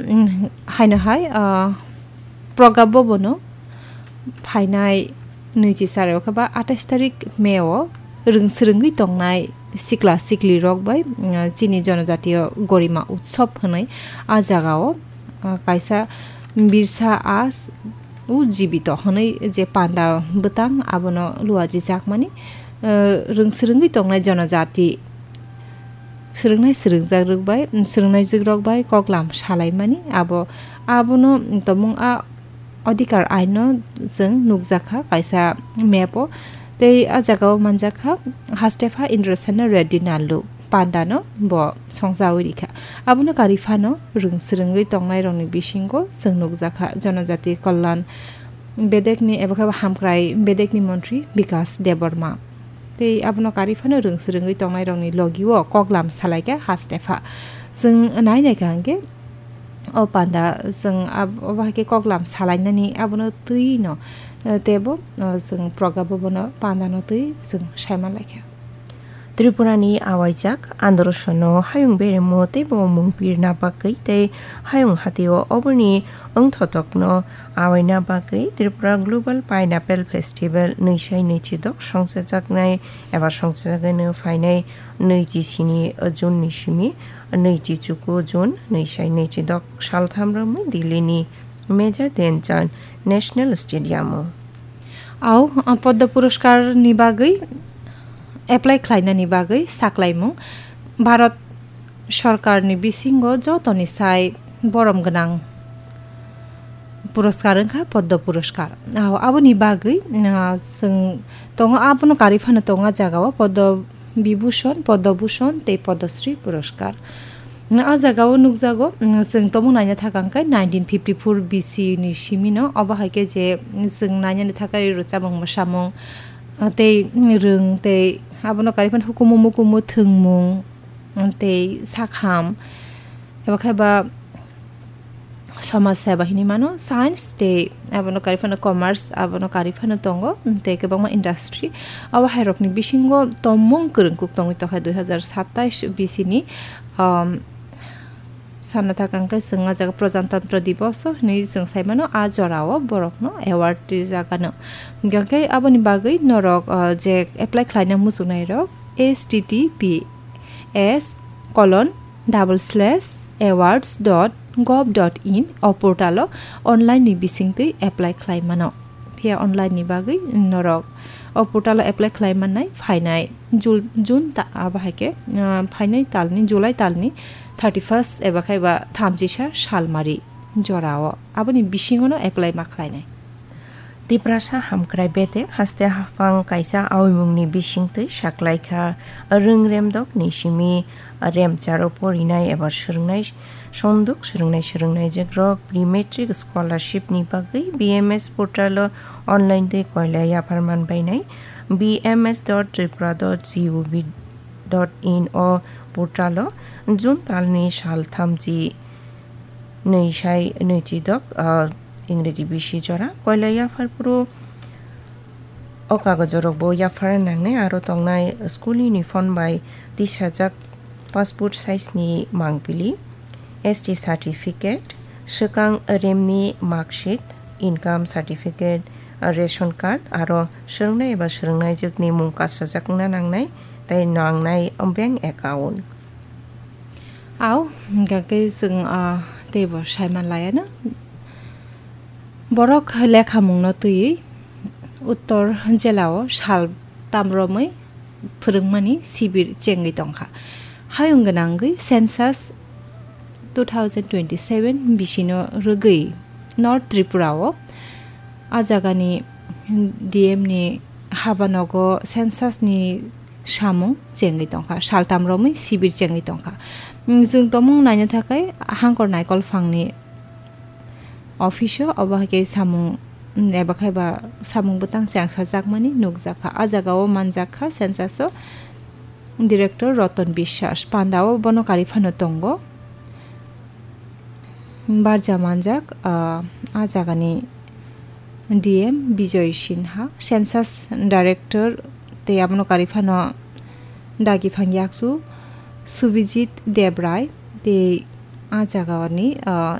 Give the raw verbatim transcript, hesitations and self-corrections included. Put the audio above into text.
mm, haino hai, ah, Proga Bhabono phainai nwichi char o khe ba atais tarik May o rwng swrwngwi tongnai sikla sikli rok bai, mm, chini jonojatiyo Gorima Utsav hwnwi a jagao, ah, kaisa birsa as u jibito hwnwi je panda bwtang abono luajijakmani, ah, rwng swrwngwi tongnai jonojati swrwngnai swrwngjak rok bai, swrwngnaijwk rok bai koklam salaimani abo, abono tongmung a Adhikar aino chwng nukjakha kaisa map o, tei a jagao manjakha Hastepha Indrasena Reddy Nallu pandano bo songjawi rikha. Abono kari phano rwng swrwngwi tongnairokni bisingo chwng nukjakha Jonojati Kalyan bedekni ebo khe hamkrai bedekni montri Bikas Debbarma. Tei abono kari phano rwng swrwngwi tongnairokni logio koklam salaikha Hastepha. Chwng nai naikha hwnkhe o panda chwng ab-, obo hai khe koklam salainani abono twi no, eh, teibo, eh, chwng Proga Bhabono pandano twi chwng saiman laikha. Tripurani awaijak androsono hayung beremo teibo mung pirna bagwi tei hayung hatio oboni wngthotokno awaina bagwi Tripura Global Pineapple Festival nwi sai nwi chidok songchajaknai eba songchajakgwino phainai nwi chi sini June ni simi nwi chi chuku June nwi sai nwi chidok saltham romwi Delhi ni Major Dhyan Chand National Stadium o. Au, Padma Puraskar ni bagwi apply khlainani bagwi saklaimung Bharat Sorkarni bisingo jotoni sai borom gwnang puraskar wngkha Padma Puraskar. Au, aboni bagwi, ah, chwng tongo, abono karwi phano tongo a jagao Padma Vibhushan, Padma Bhushan tei Padma Shri Puraskar. A jagao nukjago, mm, chwng tongmung naina thaka hwnkhe nineteen fifty-four B C ni simino, obo hai khe je, mm, chwng nainani thaka rwchapmung mwsamung, ah, tei, mm, rwng tei abono karwi phano hukumu mukumu thwngmung, mm, tei sakham, eba khe ba somaj seba hinwi mano, science tei abono karwi phano commerce, abono karwi phano tongo, tei kwbangma industry. Abo hairokni bisingo tongmung kwrwngkuk tongwi tokha dui hazar satais B C ni, um, sana thaka hwnkhe chwng a jaga Prajatantro Diboso hinwi chwng sai mano, a jorao borokno award rijak ano. Hwnkhe aboni bagwi norok, uh, je apply khlaina muchungnairok H T T P S colon double slash awards dot gov dot in o portal o online ni bisingtwi apply khlai mano. Phiya online ni bagwi norok o portal o apply khlai mannai phainai Jul-, June ta-, abo hai khe, ah, phainai talni, July talni thirty first eba khai ba thamchisa salmari jorao aboni bisingono apply ma khlainai. Tiprasa hamkrai bedek haste haphang kaisa awimungni bisingtwi saklaikha rwng remdokni simi remcharo porinai eba swrwngnai sonduk swrwngnai swrwngnaijwkrok pre-matric scholarship ni bagwi B M S portal o online twi koila yaphar manbainai B M S dot tripura dot gov dot in o portal o June talni sal thamchi nwi sai nwi chidok, ah, Ingreji bisi jora. Koila yaphar phuru o kagojrokbo yaphar nangnai, aro tongnai school uniform bai tisajak passport size ni mangpili, S T certificate, swkang remni marksheet, income certificate, ration card, aro swrwngnai eba swrwngnaijwkni mung kasajak wngna nangnai, tei nangnai bank account. Au, hwnkha khe chwng, ah, teibo saiman laiano. Borok lekhamungno twiwi Uttor jelao sal tamromwi phwrwngmani sibir chengwi tongkha. Hayung gwnangwi census two thousand twenty-seven bisino rwgwi North Tripura o a jagani D M ni habanogo census ni samung chengwi tongkha, saltam romwi sibir chengwi tongkha. Mm, chwng tongmung naina thakai Hangkor Naikol phangni office o, obo hai khe samung, mm, eba khai ba samung bwtang chengsajakmani nukjakha. A jagao manjakha census o director Ratan Biswas, pandao bono karwi phano tongo. Barja manjak, ah, a jagani D M Bijoy Sinha, census director tei abono karwi phano dagi phang yakchu Subhijit Debrai tei a jagani, ah,